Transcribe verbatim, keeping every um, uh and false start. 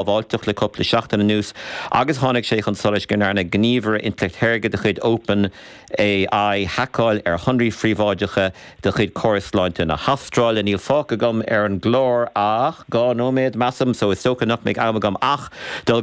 Sábháilteacht le cúpla seachtain anuas agus tháinig sé chun solais go ndearna gníomhaire intleacht shaorga de chuid Open AI haiceáil ar shonraí príobháideacha de chuid córas sláinte na hAstráile. Níl fágtha agam ar an gclár ach dhá nóiméad measaim, so is dócha nach mbeidh am agam ach dul